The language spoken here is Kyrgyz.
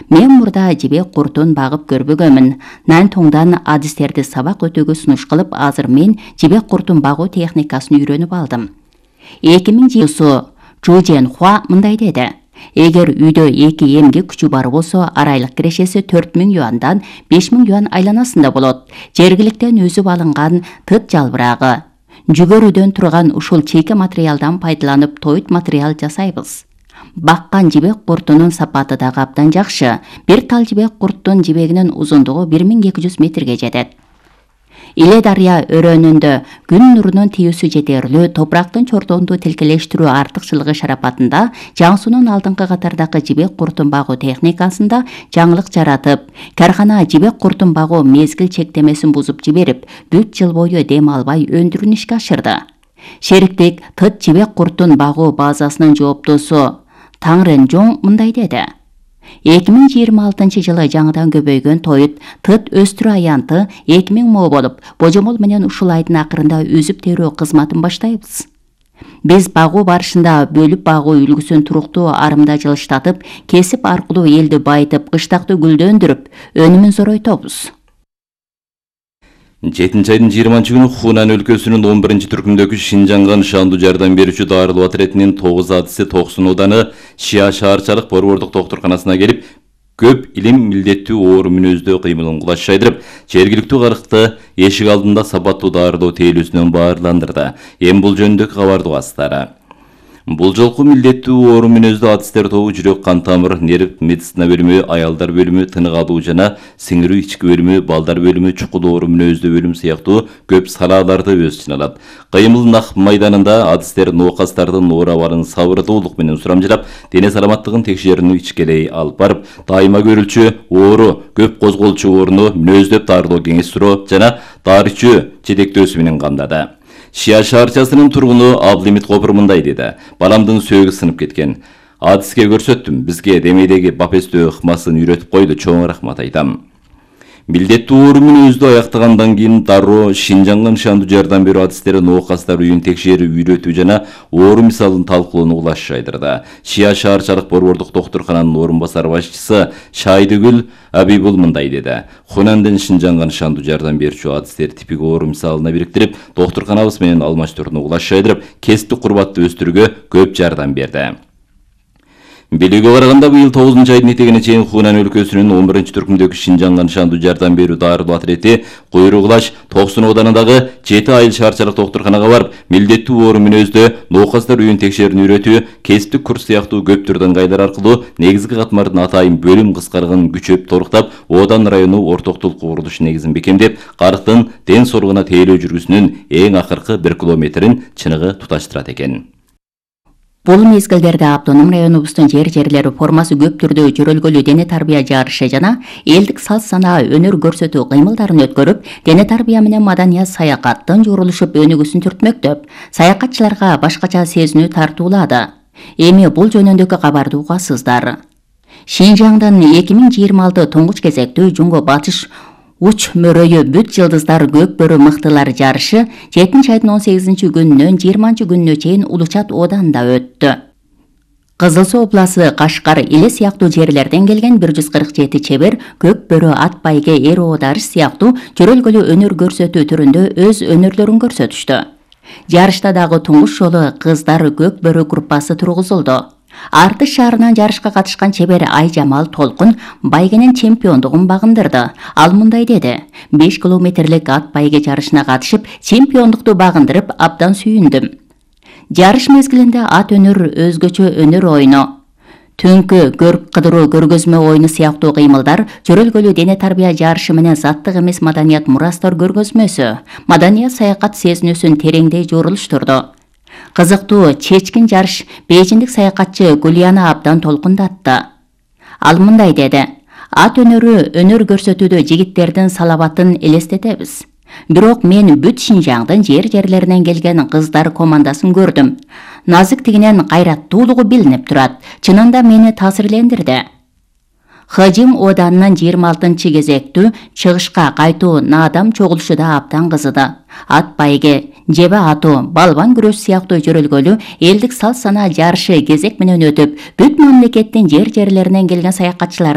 Мен мурда жибек куртун багып көрбөгөмүн. Нантоңдан адистерди сабак өтүүгө сунуш кылып, азыр мен жибек куртун багуу техникасын үйрөнүп алдым. 2000 Чжу Жэнхуа мындай деди. Эгер үйдө 2 эмгек күчү бар болсо, арайлык кирешеси 4000 юандан 5000 юан айланасында болот. Жергиликтен өзүп алынган тыт жалбырагы, жүгөрүдөн турган ушул чийки материалдан пайдаланып тоют материал жасайбыз. Баккан жибек куртунун сапаты дагы абдан жакшы. Бир тал жибек курттун жибегинин узундугу 1200 метрге жетет. Иле дарыя өрөөнүндө күн нурунун тийүүсү жетерлүү, топурактын чордоонду тилкелештирүү артыкчылыгы шарапатында Жаңсунун алдыңкы катардагы жибек куртун багуу техникасында жаңылык жаратып, кархана жибек куртун багуу мезгил чектемесин бузуп жиберип, бүт жыл бою дем албай өндүрүүнү ишке ашырды. Шериктик тыт жибек куртун багуу базасынын жооптусу Таң Ренжоң мындай деди. 2026 жылы жаңыдан көбөйгөн тоют тыт өстүрүү аянты 2000 мо болуп, божомол менен ушул айдын акырында үзүп терүү кызматын баштайбыз. Биз багуу барышында бөлүп багуу үлгүсүн туруктуу арымда жылыштатып, кесип аркылуу элди байытып, кыштакты гүлдөндүрүп, өнүмүн зоройтобуз. 7 айдын 20-күнү Хунан өлкөсүнүн 11-түркүмдөгү Шинжанга нышандуу жардам берүүчү дарылоо отрядынын 9 адиси Токсун ооданы Шия шаарчалык борбордук доктурканасына келип, көп илим милдеттүү оору мүнөздөө кыймылын кулаш жайдырып, жергиликтүү карыкты эшик алдында сапаттуу дарылоо тейлүүсүнөн баарландырды. Эми бул жөнүндөгү кабарды угасыздар. Бул жолку милдеттүү оору мүнөздүү адистер тобу жүрөк кан тамыр, нерв медицина бөлүмү, аялдар бөлүмү, тынык алуу жана сиңирүү ички бөлүмү, балдар бөлүмү, чукул оору мүнөздүү бөлүм сыяктуу көп салаларды өз ичине алат. Кыймыл нак майданында адистер ноокастардын оор абалын сабырдуулук менен сурамжылап, дене саламаттыгын текшерүүнү ичкелей алып барып, дайыма көрүлчү оору, көп козголчу ооруну мүнөздөп дарылоо кеңеш суроо жана дары ичүү жетектөөсү менен камдады. Шия шаарчасынын тургуну Абдылимит Копур мындай деди. Баламдын сөөгү сынып кеткен. Адиске көрсөттүм. Бизге демейдеги бапестөө ыкмасын үйрөтүп койду. Чоң рахмат айтам. Милдеттүү оору мүнөздүү аяктагандан кийин дароо Шинжанга нышандуу жардам берүү адистери ноокастар үйүн текшерүү, үйрөтүү жана оору мисалын талкуулоону улаш жайдырды. Шия шаарчалык борбордук доктуркананын орун басар башчысы Шайдыгүл Абибул мындай деди. Хунандын Шинжанга нышандуу жардам берүүчү адистер типик оору мисалына бириктирип, доктурканабыз менен алмаштырууну улаш жайдырып, кесиптик курбатты өстүрүүгө көп жардам берди. Билүүгө караганда быйыл 9 айдын этегине чейин Хунан өлкөсүнүн 11-түркүмдөгү Шинжанга нышандуу жардам берүү дарылоо отряди Куйругулаш Токсун оодунундагы 7 айыл шаарчалык доктурканага барып, милдеттүү оору мүнөздөө ноокастар үйүн текшерүүнү үйрөтүү, кесиптик курс сыяктуу көп түрдөн кайдар аркылуу негизги катмардын атайын бөлүм кыскаргын күчөп толуктап, Оодан району ортоктулук курулуш негизин бекемдеп, карыктын ден соолугуна тейлөө жүргүсүнүн эң акыркы 1 километрин чыныгы туташтырат экен. Бул мезгилдерде автоном районубуздун жерлери формасы көп түрдө жөрөлгөлүү дене тарбия жарышы жана элдик салт санаа өнөр көрсөтүү кыймылдарын өткөрүп, дене тарбия менен маданият саякаттын журулушуп өнүгүүсүн түртмөктөп, саякатчыларга башкача сезинүү тартуулады. Эми бул жөнүндөгү кабарды угасыздар. Шинжаңдын 2026 туңгуч кезектүү Жунго батыш уч мөрөйү бүт жылдыздар көк бөрү мыктылар жарышы 7 айдын 18 күнүнөн 20 күнүнө чейин Улучат ооданында өттү. Кызыл Суу обласы Кашкар Иле сыяктуу жерлерден келген 147 чебер көк бөрү ат байге эр оодарыш сыяктуу жөрөлгөлүү өнөр көрсөтүү түрүндө өз өнөрлөрүн көрсөтүштү. Жарышта дагы туңгуч жолу кыздар көк бөрү группасы тургузулду. Артыш шаарынан жарышка катышкан чебер Айжамал Толкун байгенин чемпиондугун багындырды. Ал мындай деди. 5 километрлик ат байге жарышына катышып, чемпиондукту багындырып, абдан сүйүндүм. Жарыш мезгилинде ат өнөр өзгөчө өнөр ойну, түнкү көрүп кыдыруу көргөзмө ойну сыяктуу кыймылдар, жөрөлгөлүү дене тарбия жарышы менен заттык эмес маданият мурастар көргөзмөсү, маданият саякат сезинүүсүн тереңдей жорулуштурду. Кызыктуу чечкин жарыш бейжиндик саякатчы Гулияна абдан толкундатты. Ал мындай деди. Ат өнөрү өнөр көрсөтүүдө жигиттердин салабатын элестетебиз. Бирок мен бүт Шинжаңдын жерлеринен келген кыздар командасын көрдүм. Назиктигинен кайраттуулугу билинип турат. Чынында мени таасирлендирди. Хажим ооданынын 26 кезектүү чыгышка кайтуу наадам чогулушу да абдан кызыды. Ат байге, жебе атуу, балбан күрөш сыяктуу жөрөлгөлүү элдик салт санаа жарышы кезек менен өтүп, бүт мамлекеттин жерлеринен келген саякатчылар